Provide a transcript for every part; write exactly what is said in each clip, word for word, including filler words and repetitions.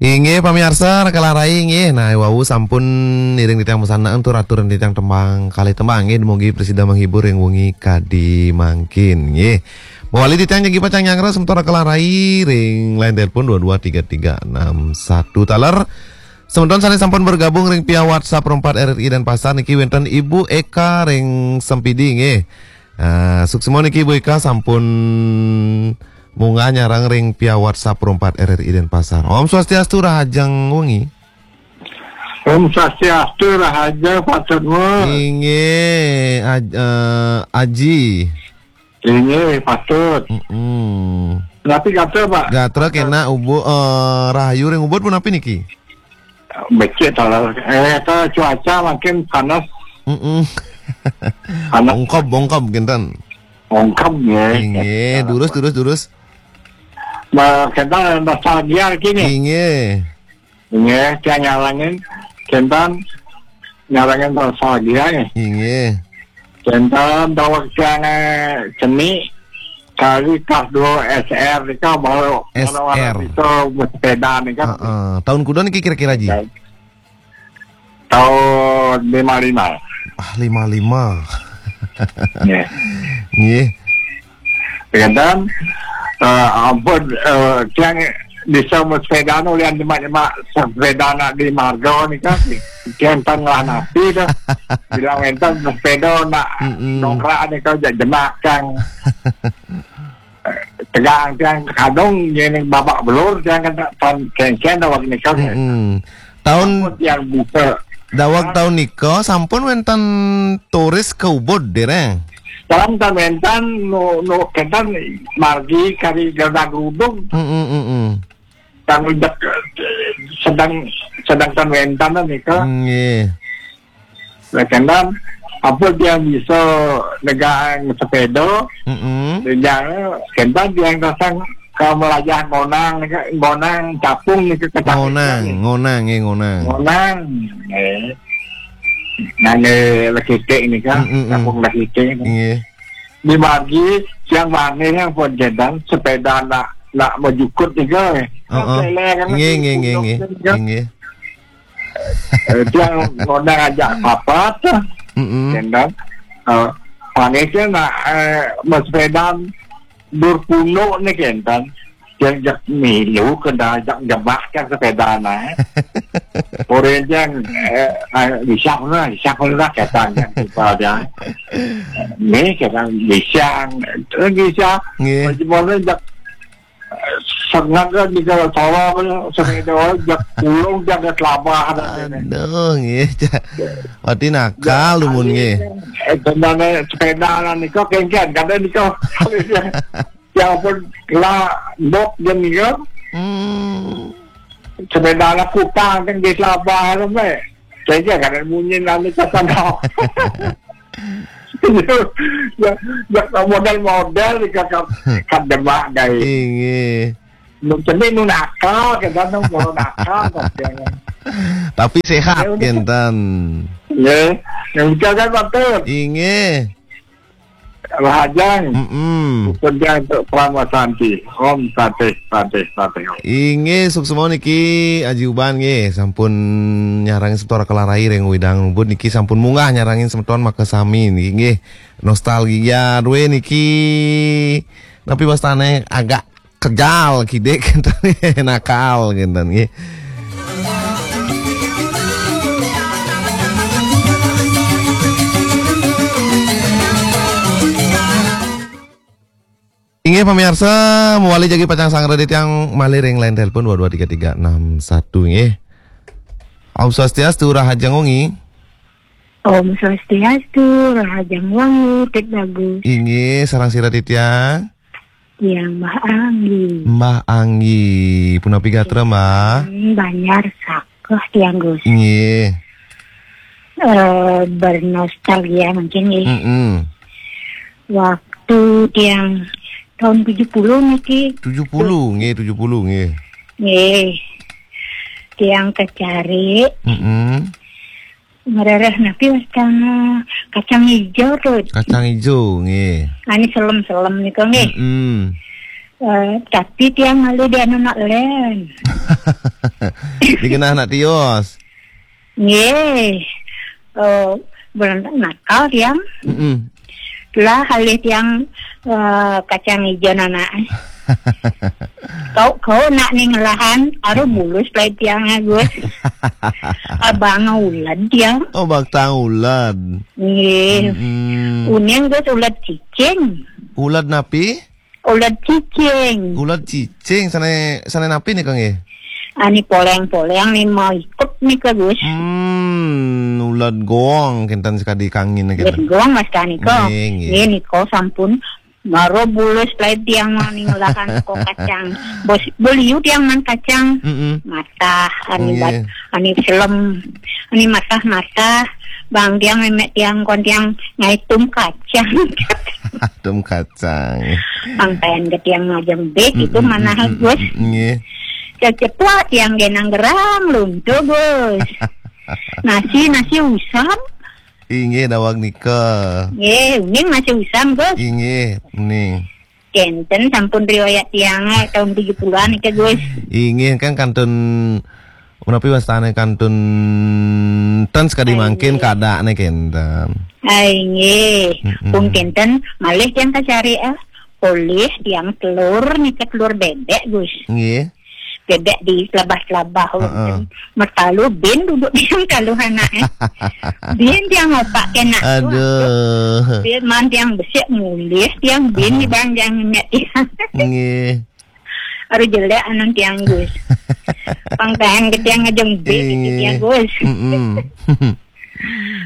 Inggih, pamiarsa, Raka Larai, inggih. Nah, wau sampun ngiring titiang pesanan tur atur titiang tembang kalih tembang, inggih. Dumugi prasida menghibur ring wengi kadi mangkin, inggih. Mawali titiang jagi pacang nyanggra semeton Raka Larai ring line telepon dua dua tiga tiga enam satu taler. Semeton sane sampun bergabung ring via WhatsApp Perempat R R I Denpasar niki wenten Ibu Eka ring Sempidi, nggih. Ah, suksma niki Ibu Eka sampun munggah nyareng ring via WhatsApp Perempat R R I Denpasar. Om Swastiastu, rahajeng wengi. Om Swastiastu, rahajeng Pak Sukma. Inggih, aj-, eh, Aji. Inggih, patut. Mm-mm. Napi gatra, Pak? Gatra kenak, ubu-, eh, rahayu ring ubud punapi niki? Becik taler. Eh, ta cuaca makin panas. Mm-mm. Panas. Ungkeb, ungkeb kinten. Ungkeb, nggih. Inggih, durus, durus, durus. Ba, kita nostalgia kini. Inggih. Nggih, tiang nyarengin, kinten nyarengin nostalgia nggih. Inggih. Kinten daweg tiang, eh, cenik kali kelas dua S R nika baru, baru S R. Bisa bersepeda nika. Heeh. Tahun kuda niki kira-kira, Ji? Tahun lima lima. Ah, lima lima. Nggih. Nggih. Kadang, eh, ampun, eh, tiang bisa bersepeda nu lian jemak-jemak sepeda nak di marga nika. Tiang tengah napi dah. Bilang enten sepeda nak Mm-mm. dongkrak nika, jak jemak tiang. Tegang tiang kadung, yen babak belur tiang kan tak tan kengken daweg nika. Mm-mm. Tahun ampun tiang bisa. Daweg tahun nika sampun wenten turis ke Ubud, dereng? Sampun wenten nu, nu kenten margi kari gerda gerudung. Mm-mm, mm-mm. Kan ujak, eh, sedang, sedang tan wenten nika. Nggih. Lah, kendan, apa tiang bisa negang sepeda? Mm-mm. Negang, kendan tiang datang ke Melajah Ngonang, Ngonang Capung ni ke Kecamatan Ngonang, ni. Ngonang, eh, Ngonang. Ngonang, eh. Nang, eh, Lekitik ni kan, Mm-mm. Capung Lekitik ni. Nggih. Di margi, tiang mangih yang pun kendan, sepeda nak, nak mejukut ni ke, eh. Heeh. Kan lele kan, Nggih, nggih, nggih, nggih. Nggih. Eh, tiang ngondang ajak papat, Mm-mm. kendang. Eh, panisnya nak, eh, bersepeda dur punduk ni kendang. Tiang jak milu kendang ajak jebak tiang sepeda na. Orang tiang, eh, eh, bisa pun lah, bisa pun lah, kata tiang kita dia. Ni kendang bisa, eh, bisa. Nggih. Macam mana jak Sengaja di kalau sawah, sepeda, jak pulung, jak ada telabah, ada ni. Aduh, nggih, Cak. Berarti nakal, ya, lumun, nggih. Eh, sebenarnya sepeda lah ni, kau kengken, kada ni kau. Ya pun, lah, bot je ni kau. Hmm. Sepeda lah kutang, kan di telabah, kan, eh. Kengken, kada munyi, lah, ni kata kau. Ya, ya, model-model ni kakak, kat demak, guys. Inggih. Nu cenik nu nakal, kita nu mula nakal, tapi yang Tapi sehat, ya, udah. Kinten. Ya, yang kita kan patut. Inggih. Rahajeng. Mm-mm. Hukum dia untuk Parama Santi. Om Santi, Santi, Santi. Inggih, suksma niki, Aji Uban nggih, sampun nyarengin semeton Raka Larai ring Widang Ubud niki sampun munggah nyarengin semeton makasami niki nggih. Nostalgia duwe niki, napi wastane, agak kejal kidik, kinten, nakal, kinten nggih. Inggih, pamiarsa, mawali jagi pacang sanggra titiang malih ring line telepon dua dua tiga tiga enam satu, nggih. Om Swastiastu, rahajeng wengi. Om Swastiastu, rahajeng wengi, Tik Bagus. Inggih, sareng sira titiang? Tiang Mbah Anggi. Mbah Anggi, punapi gatra, Mbah? Hmm, Banjar Sakeh, tiang, Gus. Nggih. Eh, bernostalgia mungkin, nggih. Mm-mm. Waktu tiang tahun tujuh puluh niki. Tujuh puluh, nggih, tujuh puluh, nggih. Nggih. Tiang kacari. Mm-mm. Ngrereh napi wastana kacang ijo, Tut? Kacang ijo, nggih. Ane selem-selem nika, nggih. Mm-mm. Eh, tapi tiang malu di anu nak len. Dikenal anak tios. Nggih. Eh, berontak nakal tiang. Mm-mm. Lah halih tiang, eh, kacang ijo anak. Kau, kau nak ning lahan, aru bulus pelai tiang, Gus. Abang ulad tiang. Oh, batang ulad. Nggih. Mm-mm. Uning, Gus, ulad cicing. Ulad napi? Ulad cicing. Ulad cicing, sane, sane napi nika nggih? Ani poleng-poleng ni mau ikut nika, Gus. Hmm, ulad gong kenten sekadi kangin kenten. Ulad gong mas kani ko. Nggih, nggih. Nggih, niko sampun. Maro bulus pelai tiang mau ning lahan ko kacang. Bos, beliu tiang man kacang. Mm-mm. Matah, ani bat, nggih, ani selem, ani matah-matah. Bang tiang memek tiang kon tiang ngaitum kacang. Tum kacang. Pangkaian ke tiang ngajeng bek itu mm-mm, mana mm-mm, Gus. Mm-mm, nggih. Ceceplak tiang genang gerang luntur, Gus. Nasi, nasi usam. Inggih, dawag nika. Nggih, uning nasi usam, Gus. Inggih, uning. Kenten sampun riwayat tiang, eh, tahun tujuh puluhan nika, Gus. Inggih, kan kantun menapi wastane kantun ten sekadi mangkin kadane kenten. Ai, nggih. Mm-mm. Pun kenten malih tiang kacari, ah. Polih tiang telur nika telur bebek, Gus. Nggih. Bebek di selabah-selabah, heeh, wonten. Mertalu bin duduk di talu anak, eh. Bin tiang opak kena. Aduh. Bin man tiang besik mulih tiang bin di bang tiang nek tiang. Nggih. Aduh jelek anun tiang, Gus. Pangkahan ke tiang ngejeng bik gitu tiang, Gus. Mm-mm.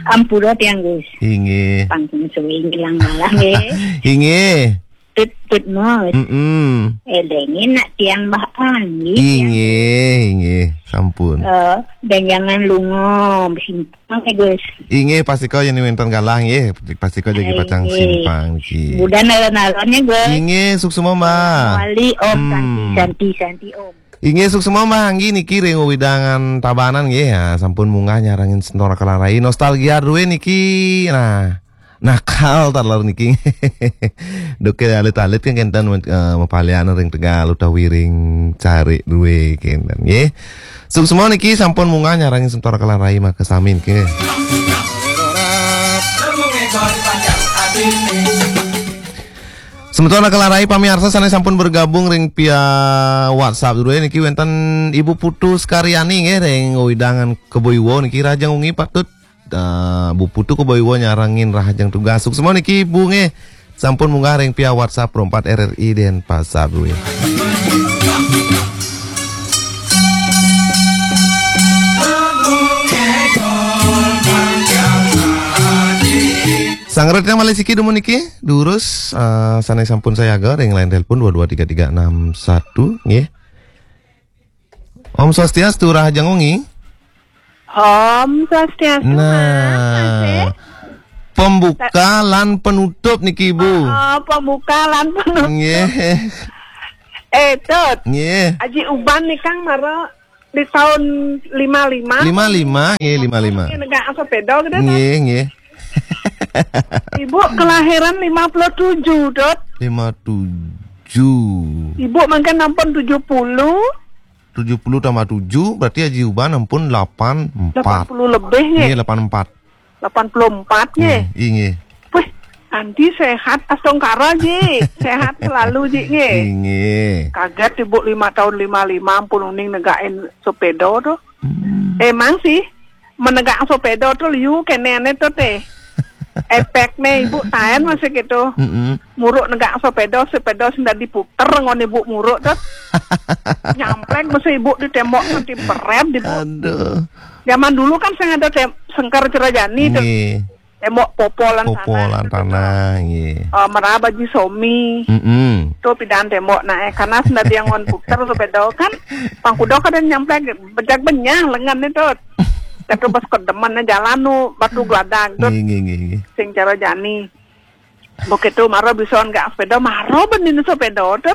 Ampura tiang, Gus. Inggih. Pangkung suwi ngilang malah, nggih. Inggih. Tut, tut, mos. Mm-mm. Elengin nak tiang bah anggi, tiang. Inggih, inggih. Sampun. Eh, dan jangan lungo, besimpang, eh, Gus. Inggih, pastika yen wenten galah, nggih. Pastika jagi pacang simpang, nggih. Budan alon-alonnya, Gus. Inggih, suksma, Mbah. Wali, Om, hmm. Santi, Santi, Santi, Om. Inggih, suksma, Mbah Anggi niki ring wewidangan Tabanan nggih, ya, sampun munggah nyarengin Semeton Raka lan Rai. Nostalgia druwe niki, nah, nakal taler niki. Duke alit-alit kan kenten, eh, mapalian ring Tegal utawi ring Carik druwe kenten nggih. Suksma niki sampun munggah nyarengin Semeton Raka lan Rai maka sami nggih. Semeton Raka lan Rai pamiarsa sane sampun bergabung ring via WhatsApp dulu ya, niki wenten Ibu Putu Sekaryani nggih ring wewidangan Kebo Iwa niki, rahajeng wengi patut, eh, Bu Putu Kebo Iwa nyarengin rahajeng tugas. Suksma niki Ibu nggih. Sampun munggah ring via WhatsApp Pro empat R R I Denpasar dulu ya. Sangretan malih siki dumun niki, durus, eh, sane sampun sayaga ring line telepon dua dua tiga tiga enam satu, nggih. Om Swastiastu, rahajeng wengi. Om Swastiastu, nah, Mas, eh. Pembuka lan penutup niki, Bu. Oh, pembuka lan penutup. Nggih. Eh, Tut. Nggih. Aji Uban nih, Kang, mara di tahun lima lima. Lima lima, nggih, lima lima. Nggih, negak sepeda gitu, Tut. Nggih, nggih. Ibu kelahiran lima puluh tujuh, Dot. Lima tujuh. Ibu mungkin ampun tujuh puluh. Tujuh puluh tambah tujuh, berarti Aji Uban ampun delapan empat. Delapan puluh lebih, nggih. Nggih, delapan empat. Delapan puluh empat, nggih. Hmm, inggih. Wih, Andi sehat, astungkara, Ji. Sehat selalu, Ji, nggih. Inggih. Kaget Ibu lima tahun lima lima, ampun uning negakin sepeda tuh. Hmm. Emang sih, menegak sepeda tuh liu kenene tuh teh. Efeknya Ibu taen masih gitu. Mm-mm. Muruk negak sepeda, sepeda sing dadi puter ngon Ibu muruk tuh. Nyamplek masih Ibu di tembok nanti beret di Bu. Aduh. Zaman dulu kan sing ada tem-, sengker cerajani tuh. Nggih. Tembok popolan tanah. Popolan tanah, nggih. Eh, meraba Ji Somi. Mm-mm. Tuh pidan tembok nah, eh, karena sing dadi yang ngon puter sepeda kan. Pangkuda kada nyamplek bejak benyah lengan itu. Kata bos kedemen jalan nu batu geladak tuh. Nggih, nggih, nggih, nggih. Sing cara jani. Begitu maro bisa negak sepeda, maro benin sepeda tuh.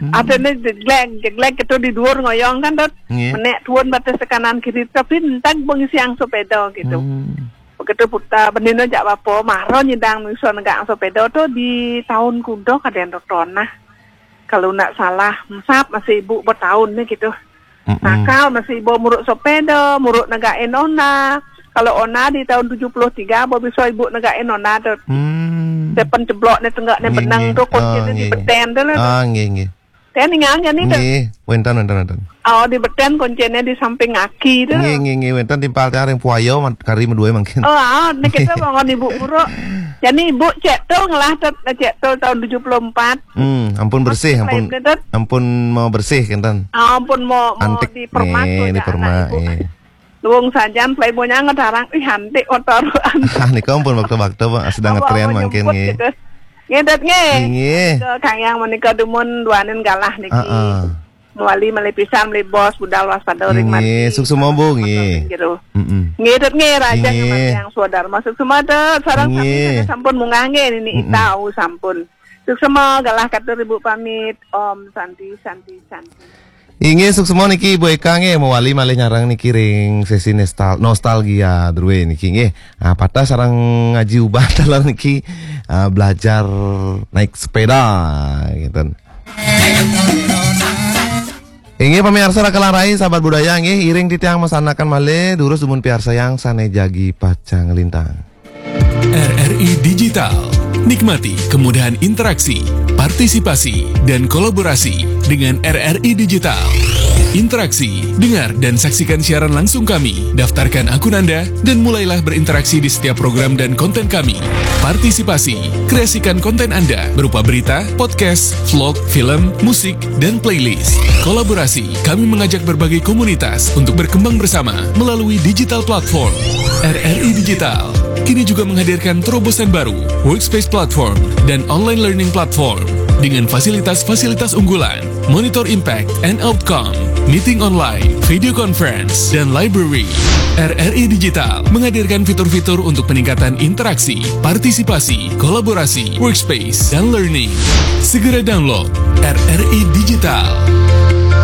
Hmm. Ada nih jeglek, jeglek itu di dhuwur ngoyong kan tuh. Nggih. Menek tuun batas kanan kiri tapi entag bengi siang sepeda gitu. Hmm. Begitu putar benin jak bapa, maro nyidang bisa negak sepeda tuh di tahun kuda kadang tuh tonah. kalau ndak salah, mesap masih ibu bertahun ni gitu. Mm-mm. Nakal masih ibu muruk sepeda, muruk negain ona. Kalau ona di tahun tujuh puluh tiga, bo bisa ibu negain ona tu. Hmm. Sepen ceblok ni tenggak ni benang tu, kunci ni di beten tu lah tu. Ah, nggih, nggih. Saya ningal ni tu. Nggih, wenten, wenten, wenten. Oh, di beten kuncinya di samping kaki tu. Nggih, nggih, nggih, wenten timpal tiang ring puaya kari medue mangkin. Oh, ah, ni kita bangun ibu muruk. Jadi ibu cek tu ngelah tu, cek tu tahun tujuh puluh empat. Hmm, ampun bersih, ampun, ampun mau bersih kenten. Ah, ampun mau, mau antik dipermak nih, dipermak. Luung sajan playboynya ngedarang, ih, antik motor. Ah, nika ampun waktu-waktu, Pak, sedang ngetren mangkin nggih. Ngedet nggih. Nggih. Ke Kang Yang menika dumun duanin galah niki. Heeh. Mewali malih pisan malih bos budal waspada ring nggih, suksema, Bu, nggih. Heeh. Ngedet nggih, raja nggih. Yang swadharma suksema, sareng sami sampun munggah nggih, nini itau sampun. Suksema, galah katur ibu pamit. Om Santi, Santi, Santi. Inggih, suksema niki Ibu Eka nggih, mewali malih nyareng niki ring sesi nestal-, nostalgia drue niki nggih. Ah, patah sareng ngaji ubah taler niki, ah, belajar naik sepeda gitu. Inggih, pamiarsa Raka Larai, sahabat budaya nggih, iring titiang masanakan malih durus dumun piarsayang sane jagi pacang lintang. R R I Digital. Nikmati kemudahan interaksi, partisipasi, dan kolaborasi dengan R R I Digital. Interaksi, dengar dan saksikan siaran langsung kami, daftarkan akun Anda, dan mulailah berinteraksi di setiap program dan konten kami. Partisipasi, kreasikan konten Anda berupa berita, podcast, vlog, film, musik, dan playlist. Kolaborasi, kami mengajak berbagai komunitas untuk berkembang bersama melalui digital platform. R R I Digital kini juga menghadirkan terobosan baru, Workspace Platform dan Online Learning Platform dengan fasilitas-fasilitas unggulan, monitor impact and outcome, meeting online, video conference, dan library. R R I Digital menghadirkan fitur-fitur untuk peningkatan interaksi, partisipasi, kolaborasi, workspace, dan learning. Segera download R R I Digital.